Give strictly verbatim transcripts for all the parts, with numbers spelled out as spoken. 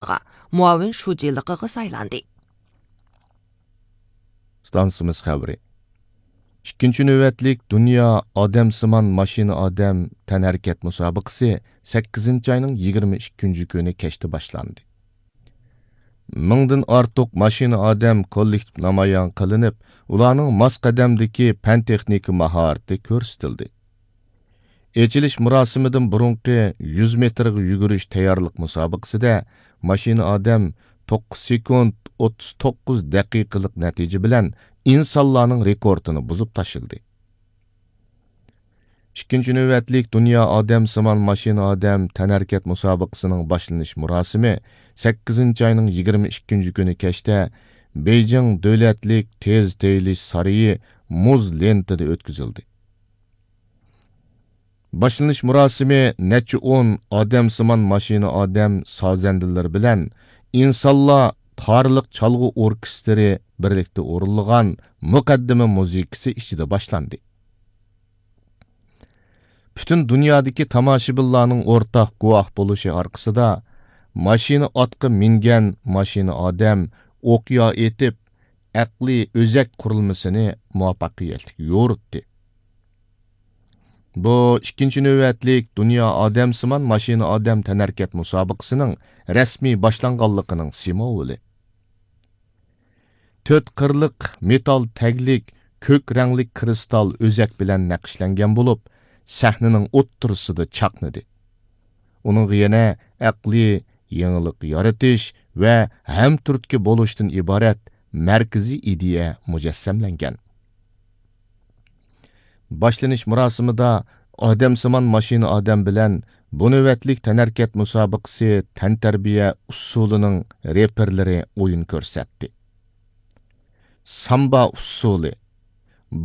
مۇئاۋىن شۇجىلىقىغا سايلاندى. ئىستانسىمىز خەۋىرى. ئىككىنچى نۆۋەتلىك دۇنيا ئادەمسىمان ماشىنا ئادەم تەنھەرىكەت مۇسابىقىسى سەككىزىنچى ئاينىڭ يىگىرمە ئىككىنچى كۈنى كەچتە باشلاندى. مىڭدىن ئارتۇق ماشىنا ئادەم كوللېكتىپ نامايان قىلىنىپ، ئۇلارنىڭ ماس قەدەمدىكى پەن-تېخنىكا ماھارىتى كۆرسىتىلدى. ئېچىلىش مۇراسىمىدىن بۇرۇنقى يۈز مېتىرغا يۈگۈرۈش تەييارلىق مۇسابىقىسىدە ماشىنا ئادەم توققۇز سېكۇنت ئوتتۇز توققۇز دەقىقىلىق نەتىجە بىلەن ئىنسانلارنىڭ رېكورتىنى بۇزۇپ تاشلىدى. ئىككىنچى نۆۋەتلىك دۇنيا ئادەمسىمان ماشىنا ئادەم تەنھەرىكەت مۇسابىقىسىنىڭ باشلىنىش مۇراسىمى سەككىزىنچى ئاينىڭ يىگىرمە ئىككىنچى كۈنى كەچتە بېيجىڭ دۆلەتلىك تېز تېيىلىش سارىيى مۇز لېنتىدا ئۆتكۈزۈلدى. باشلىنىش مۇراسىمى نەچچە ئون ئادەمسىمان ماشىنا ئادەم سازەندىلىرى بىلەن ئىنسانلار تارىلىق چالغۇ ئوركېستىرى بىرلىكتە ئورۇنلىغان مۇقەددىمە مۇزىكىسى ئىچىدە باشلاندى. پۈتۈن دۇنيادىكى تاماشىبىنلارنىڭ ئورتاق گۇۋاھ بولۇشى ئارقىسىدا، ماشىنا ئاتقا مىنگەن ماشىنا ئادەم ئوقيا ئېتىپ، ئەقلىي ئۆزەك قۇرۇلمىسىنى مۇۋەپپەقىيەتلىك يورۇتتى. بۇ ئىككىنچى نۆۋەتلىك دۇنيا ئادەمسىمان ماشىنا ئادەم تەنھەرىكەت مۇسابىقىسىنىڭ رەسمىي باشلانغانلىقىنىڭ سىمۋولى. تۆت قىرلىق مېتال تەگلىك كۆك رەڭلىك كىرىستال ئۆزەك بىلەن نەقىشلەنگەن بولۇپ، سەھنىنىڭ ئوتتۇرىسىدا چاقنىدى. ئۇنىڭغا يەنە ئەقلىي يېڭىلىق يارىتىش ۋە ھەمتۈرتكە بولۇشتىن ئىبارەت مەركىزىي ئىدىيە مۇجەسسەملەنگەن. باشلىنىش مۇراسىمىدا ئادەمسىمان ماشىنا ئادەم بىلەن بۇ نۆۋەتلىك تەنھەرىكەت مۇسابىقىسى تەنتەربىيە ئۇسسۇلىنىڭ رېپېرلىرى ئويۇن كۆرسەتتى. سامبا ئۇسسۇلى،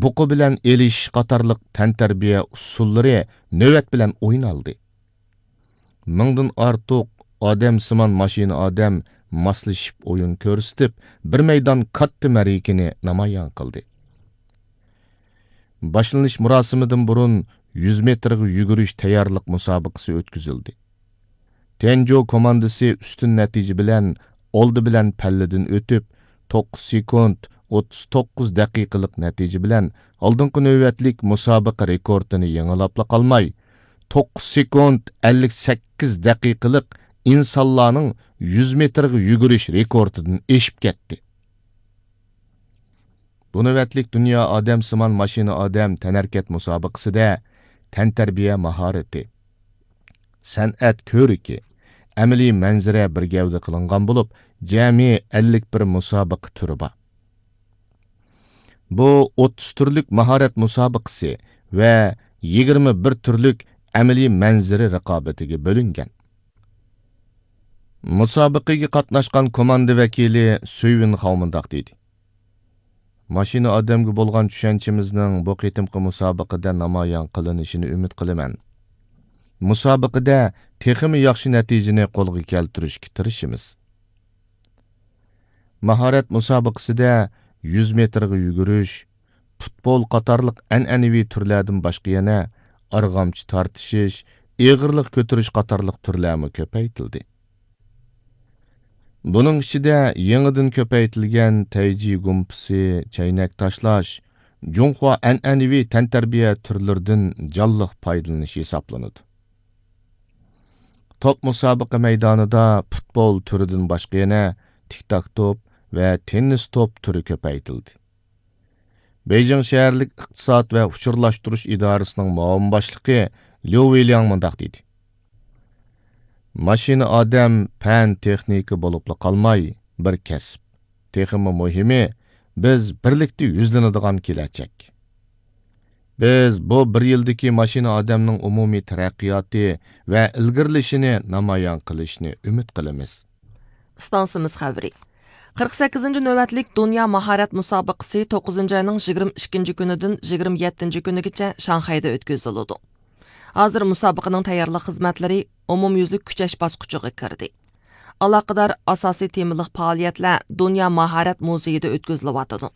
بۇقا بىلەن ئېلىشىش قاتارلىق تەنتەربىيە ئۇسسۇللىرى نۆۋەت بىلەن ئوينالدى. مىڭدىن ئارتۇق ئادەمسىمان ماشىنا ئادەم ماسلىشىپ ئويۇن كۆرسىتىپ، بىر مەيدان كاتتا مەرىكىنى نامايان قىلدى. باشلىنىش مۇراسىمىدىن بۇرۇن يۈز مېتىرغا يۈگۈرۈش تەييارلىق مۇسابىقىسى ئۆتكۈزۈلدى. تيەنجۇ كوماندىسى ئۈستۈن نەتىجە بىلەن ئالدى بىلەن پەللىدىن ئۆتۈپ، توققۇز سېكۇنت ئوتتۇز توققۇز دەقىقىلىق نەتىجە بىلەن ئالدىنقى نۆۋەتلىك مۇسابىقە رېكورتىنى يېڭىلاپلا قالماي، توققۇز سېكۇنت ئەللىك سەككىز دەقىقىلىق ئىنسانلارنىڭ يۈز مېتىرغا يۈگۈرۈش رېكورتىدىن ئېشىپ كەتتى. بۇ نۆۋەتلىك دۇنيا ئادەمسىمان ماشىنا ئادەم تەنھەرىكەت مۇسابىقىسىدە تەنتەربىيە ماھارىتى، سەنئەت كۆرىكى، ئەمەلىي مەنزىرە بىر گەۋدە قىلىنغان بولۇپ، جەمئىي ئەللىك بىر مۇسابىقە تۈرى بار. بۇ ئوتتۇز تۈرلۈك ماھارەت مۇسابىقىسى ۋە يىگىرمە بىر تۈرلۈك ئەمەلىي مەنزىرە رىقابىتىگە بۆلۈنگەن. مۇسابىقىگە قاتناشقان كوماندا ۋەكىلى سۈيۋىن خاۋ مۇنداق دېدى: ماشىنا ئادەمگە بولغان چۈشەنچىمىزنىڭ بۇ قېتىمقى مۇسابىقىدە نامايان قىلىنىشىنى ئۈمىد قىلىمەن. مۇسابىقىدە تېخىمۇ ياخشى نەتىجىنى قولغا كەلتۈرۈشكە تىرىشىمىز. ماھارەت مۇسابىقىسىدە يۈز مېتىرغا يۈگۈرۈش، پۇتبول قاتارلىق ئەنئەنىۋى تۈرلەردىن باشقا يەنە ئارغامچا تارتىشىش، ئېغىرلىق كۆتۈرۈش قاتارلىق تۈرلەرمۇ كۆپەيتىلدى. بۇنىڭ ئىچىدە يېڭىدىن كۆپەيتىلگەن تەيجى گۇمپىسى، چەينەك تاشلاش، جۇڭخۇا ئەنئەنىۋى تەنتەربىيە تۈرلىرىدىن جانلىق پايدىلىنىش ھېسابلىنىدۇ. توپ مۇسابىقە مەيدانىدا پۇتبول تۈرىدىن باشقا يەنە تىك تاك توپ ۋە تېننىس توپ تۈرى كۆپەيتىلدى. بېيجىڭ شەھەرلىك ئىقتىساد ۋە ئۇچۇرلاشتۇرۇش ئىدارىسىنىڭ مۇئاۋىن باشلىقى ليۇ ۋېلياڭ مۇنداق دېدى: ماشىنا ئادەم پەن تېخنىكا بولۇپلا قالماي، بىر كەسىپ. تېخىمۇ مۇھىمى، بىز بىرلىكتە يۈزلىنىدىغان كېلەچەك. بىز بۇ بىر يىلدىكى ماشىنا ئادەمنىڭ ئومۇمىي تەرەققىياتى ۋە ئىلگىرىلىشىنى نامايان قىلىشنى ئۈمىد قىلىمىز. ئىستانسىمىز خەۋىرى. قىرىق سەككىزىنچى نۆۋەتلىك دۇنيا ماھارەت مۇسابىقىسى توققۇزىنچى ئاينىڭ يىگىرمە ئىككىنچى كۈنىدىن يىگىرمە يەتتىنچى كۈنىگىچە شاڭخەيدە ئۆتكۈزۈلىدۇ. ھازىر مۇسابىقىنىڭ تەييارلىق خىزمەتلىرى ئومۇميۈزلۈك كۈچەش باسقۇچىغا كىردى. ئالاقىدار ئاساسىي تېمىلىق پائالىيەتلەر دۇنيا ماھارەت مۇزېيىدا ئۆتكۈزۈلۈۋاتىدۇ.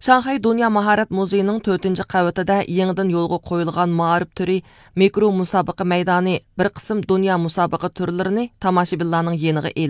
شاڭخەي دۇنيا ماھارەت مۇزېيىنىڭ تۆتىنچى قەۋىتىدە يېڭىدىن يولغا قويۇلغان مائارىپ تۈرى مىكرو مۇسابىقە مەيدانى بىر قىسىم دۇنيا مۇسابىقە تۈرلىرىنى تاماشىبىنلارنىڭ يېنىغا ئېلىپ